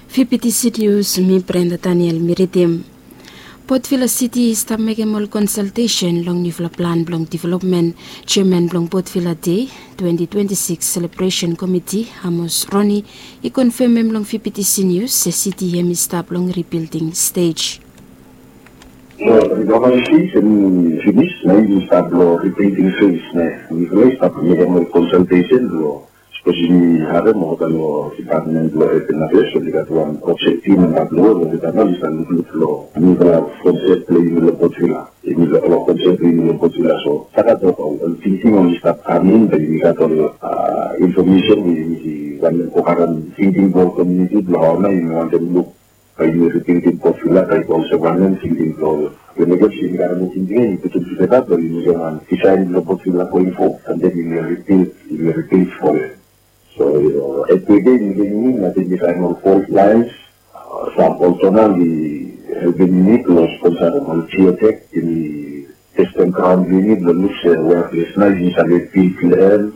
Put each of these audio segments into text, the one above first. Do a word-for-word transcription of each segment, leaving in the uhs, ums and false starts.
Fifty City News, mi Brenda Daniel mi ridim. Port Vila City i stap mekem ol konsaltesen long niufala plan blong developmen. Jeaman blong Port Vila Dei twenty twenty-six Celebration Committee, Amos Roni, i konfemem long Fifty City News se city hem i stap long ribilding stej. Lo development phase hem i finis, na i stap lo rebuilding phase, ne. Mifala i stap mekem ol konsaltesen lo, sapos yumi harem olgeta lo Department blo Urban Affairs, oli gat wan project team hem i stap lo, olgeta nao oli stap lukluk lo nifala konsep blo yumi lo Port Vila. Yumi lo, lo konsep blo yumi lo Port Vila, so stap gat ol, ol tingting oli stap kam in, bae yumi gat ol, a, infomesen we yumi wantem go karem tingting blo komuniti blo hao nao yumi wantem luk, bae yumi ribuilding Port Vila, bae i go olsem wanem tingting blo, we mekem se yumi karem ol tingting ia, yumi putum tugeta, bae yumi mekem wan design blo Port Vila going forward, and then yumi ribuild, yumi ribuild for it. So, you know, every day yumi go in, I think, design ol fault lines, a, sam olsem nao oli helpem yumi blo sponsarem ol geotech, yumi testem graon blo yumi blo luk se we ples nao yumi save build plan.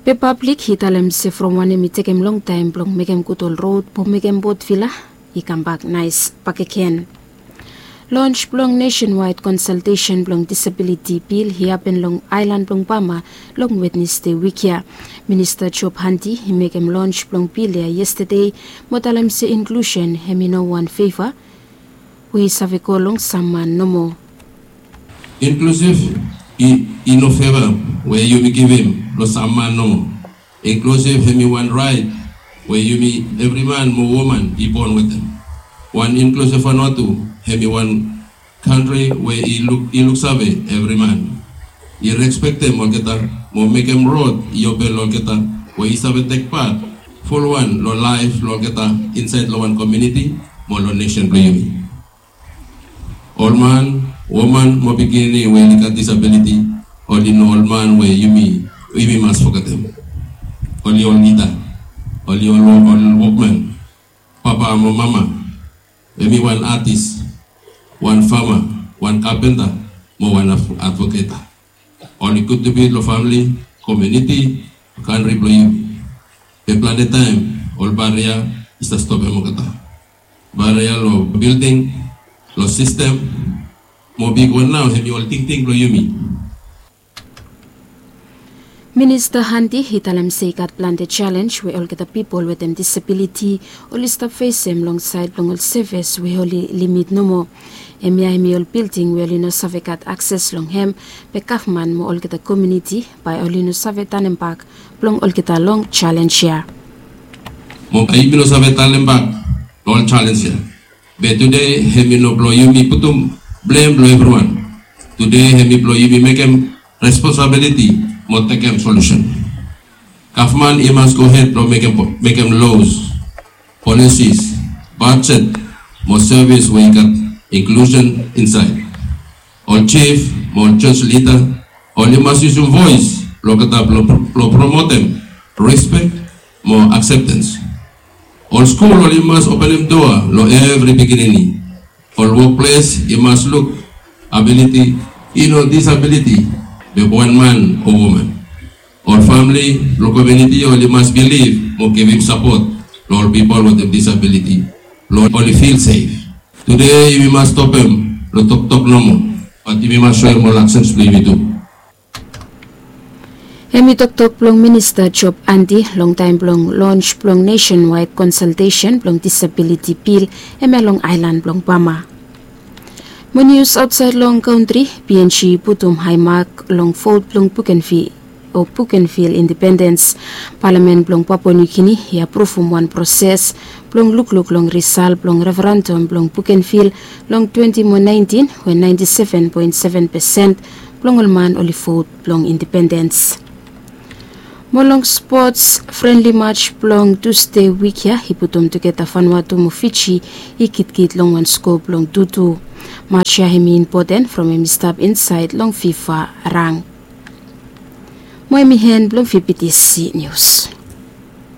Be pablik i talem se from wanem i tekem longtaem blong mekem gud ol rod mo mekem Port Vila i kambak naes bakegen. Lons blong nationwide konsaltesen blong disabiliti bil i hapen long aelan blong Bama long Wednesde wik ia. Minista Job Handi i mekem lons blong bil ia yestade mo talem se inklusen hem i no wan feva we i save go long sam man nomo. Inklusiv i, i no feva we yumi givim lo sam man nomo. Inklusiv hem i wan raet we yumi evri man mo woman i bon wetem. Wan inklusiv Vanuatu hem i wan kantri we i luk, i luksave evri man. I respektem olgeta mo mekem rod i open lo olgeta we i save tek pat fulwan lo laef blo olgeta insaed lo wan komuniti mo lo nesen blo yumi. Ol man, woman mo pikinini we oli gat disabiliti, oli no ol man we yumi, yumi mas fogetem. Oli ol lida, oli ol, ol wokman, papa mo mama, hem i wan atis, wan fama, wan kapenta mo wan adv-, advoketa. Oli kontribut lo famili, komuniti, kantri blo yumi. Be plante taem ol baria i stap stopem olgeta. Baria lo bilding, lo sistem, mo bigwan nao hem i ol tingting blo yumi. Minista Handi i talem se i gat plante jalenj we olgeta pipol wetem disabiliti oli stap fesem long saed blong ol sevis we oli limit nomo. Hemia hem i ol bilding we oli no save gat akses long hem, be gavman mo olgeta komuniti bae oli no save tanembak blong olgeta long jalenj ia. Mo bae yumi no save tanembak long ol jalenj ia. Be tude hem i no blo yumi putum blem blo evriwan. Tude hem i blo yumi mekem responsabiliti mo tekem solusen. Gavman i mas gohed blo mekem, mekem los, polisis, bajet mo sevis we i gat inklusen insaed. Ol jif mo ol jos lida oli mas yusum voes blo olgeta blo, blo promotem respek mo akseptens. Ol skul oli mas openem doa lo evri pikinini. Ol wokples i mas luk abiliti i no disabiliti, be wan man o woman. Ol famili lo komuniti oli mas bilif mo givim sapot lo ol pipol wetem disabiliti blo oli fil sef. Tude yumi mas stopem lo toktok nomo, bat yumi mas soem ol aksens blo yumi tu. Hem i toktok blong Minista Job Handi long taem blong lons blong nationwide konsaltesen blong disabiliti bil hemia long aelan blong Bama. Mo nius aotsaed long kantri, PNG i putum hae mak long vot blong Bougainville o Bougainville indipendens. Palamen blong Papua New Guinea i apruvum wan proses blong lukluk long risal blong referendum blong Bougainville long twenty mo nineteen, we ninety seven point seven percent blong ol man oli vot blong indipendens. Mo long spots, frenli mats blong Tusde wik ia i putum tugeta Vanuatu mo Fiji i gidigid long wan sko blong tu tu. Mats ia hem i impoten from hem i stap insaed long FIFA rang. Mo hem i en blong VBTC Nius.